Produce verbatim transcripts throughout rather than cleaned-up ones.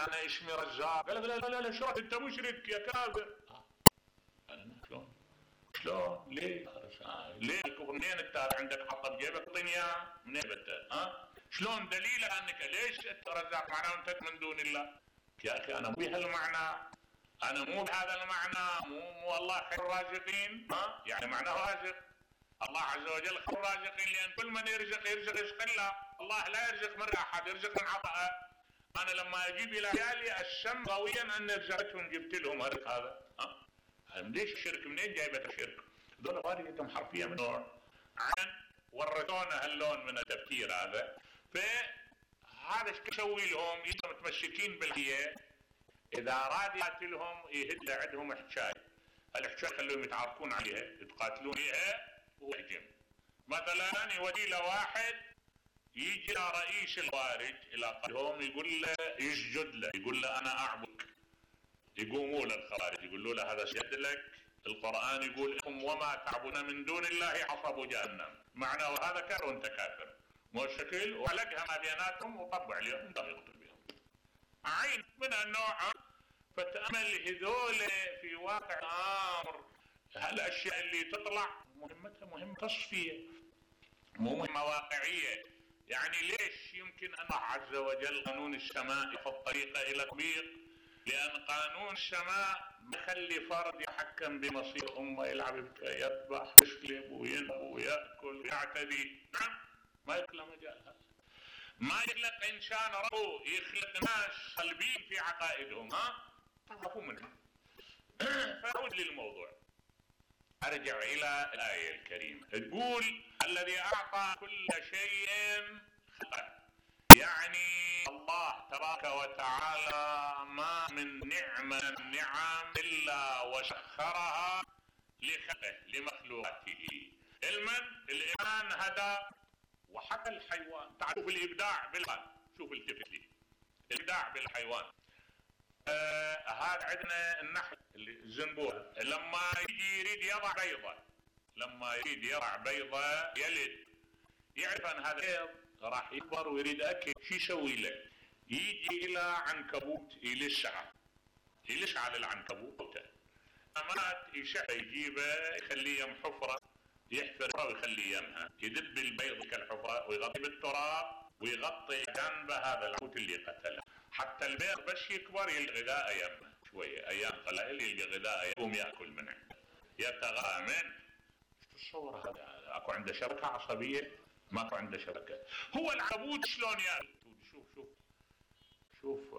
انا اسمي رزاق. قال لا لا لا شو انت مشرك يا كافر. انا شلون؟ شلون؟ ليه؟ ليه الكفر؟ منين انت عندك حطه بجيبك طنيا؟ منين انت؟ ها؟ شلون دليله انك ليش انت رزاق معناه انت من دون الله؟ يا اخي انا مو بهالمعنى، انا مو بهذا المعنى، مو مو الله خير الرازقين، ها؟ يعني معناه رازق. الله عز وجل خير الرازقين لان كل من يرزق يرزق رزق الله، الله لا يرزق من احد، يرزق من عطاءه. انا لما اجيب الى عيالي الشم قويا ان رزقتهم جبت لهم الرزق هذا، ها؟ ليش الشرك؟ منين جايبه الشرك؟ هذول فارقتهم حرفيه من نوع عن ورثونا هاللون من التفكير هذا. فهذا ايش يسوي لهم؟ يبقوا متمسكين بالحياه. اذا اراد يقاتلهم يهد عندهم حكايه، الحكايه خلوهم يتعاركون عليها يتقاتلون فيها ويهجم. مثلا يودي له واحد يجي رئيس الخوارج الى قلبهم يقول له يسجد له، يقول له انا اعبدك. يقوموا له الخوارج يقولوا له هذا سجد لك، القرآن يقول لكم وما تعبدون من دون الله حصب جهنم، معناه هذا كافر وانت كافر. مو شكل وعلقها ما بيناتهم وطبع عليهم الله يقتل بهم. عين من النوع. فتأمل هذول في واقع الامر هالاشياء اللي تطلع مهمتها مهمة تصفية، مو مهمة واقعية. يعني ليش يمكن ان الله عز وجل قانون السماء في الطريقة الى تطبيق؟ لأن قانون السماء بخلي فرد يحكم بمصير أمة، يلعب يذبح يسلب وينهب ويأكل ويعتدي. نعم ما يخلق مجال هذا. ما يخلق إنسان ربه، يخلق ناس صلبين في عقائدهم، ها؟ تعرفوا منهم. فأعود للموضوع. أرجع إلى الآية الكريمة تقول الذي أعطى كل شيء خلقه. يعني الله تبارك وتعالى ما من نعمة النعم إلا وسخرها لخلقه لمخلوقاته. المن الإنسان هدى وحتى الحيوان. تعرفوا الإبداع بالحيوان، شوف التفت لي الإبداع بالحيوان. آه هذا عندنا النحل الزنبور لما يجي يريد يضع بيضة، لما يريد يضع بيضة يلد، يعرف أن هذا بيض راح يكبر ويريد اكل. شو يسوي له؟ يجي الى عنكبوت يلسعه، يلسع على العنكبوت مات يشعه يجيبه يخليه يم حفره، يحفرها ويخليه يمها، يدب البيض كالحفره ويغطي بالتراب ويغطي جنبه هذا العنكبوت اللي قتله، حتى البيض بس يكبر يلقى غذاء يمه شويه، ايام قليل يلقى غذاء يقوم ياكل من عنده يتغذى منه. شو تصور هذا؟ اكو عنده شبكه عصبيه؟ ماكو عنده شبكه. هو العنكبوت شلون ياكل؟ شوف شوف شوف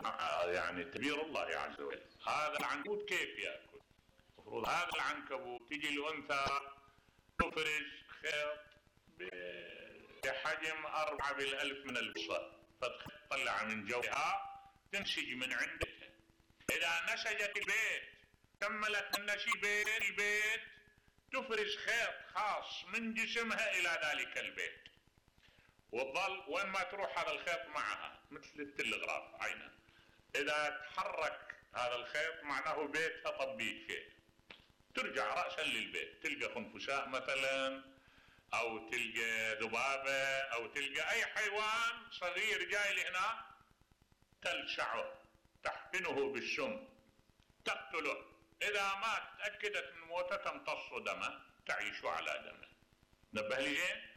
آه يعني تدبير الله عز وجل. هذا العنكبوت كيف ياكل؟ المفروض هذا العنكبوت تجي الانثى تفرج خيط بحجم أربعة بالألف من البصر، فتطلع من جوها تنسج من عندها. إذا نسجت البيت كملت النسيج بين البيت تفرز خيط خاص من جسمها إلى ذلك البيت، وتظل وين ما تروح هذا الخيط معها مثل التلغراف عينه. إذا تحرك هذا الخيط معناه بيتها طبيب شيء، ترجع رأسا للبيت تلقى خنفساء مثلا، أو تلقى ذبابة، أو تلقى أي حيوان صغير جاي لهنا تلسعه تحقنه بالسم تقتله. إذا مات تأكدت من موته تمتص دمه تعيش على دمه. نبه لي زين؟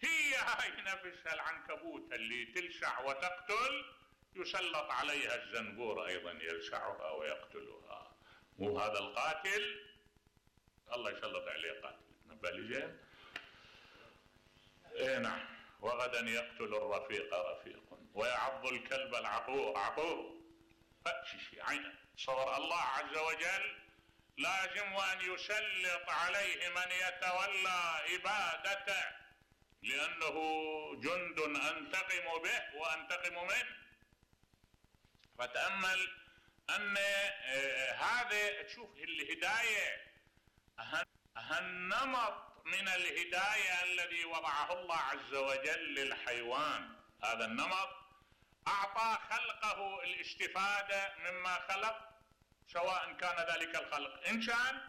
هي هاي نفسها العنكبوت اللي تلسع وتقتل يسلط عليها الزنبور أيضا يلسعها ويقتلها. مو هذا القاتل الله يسلط عليه قاتل. نبه لي زين؟ ايه نعم. وغدا يقتل الرفيق رفيق ويعض الكلب العقور عقور. فأشي عينه. صور الله عز وجل لازم أن يسلط عليه من يتولى عبادته، لأنه جند أنتقم به وأنتقم منه. فتأمل أن هذا تشوف الهداية هالنمط من الهداية الذي وضعه الله عز وجل للحيوان. هذا النمط أعطى خلقه الاستفادة مما خلق، سواء كان ذلك الخلق إنسان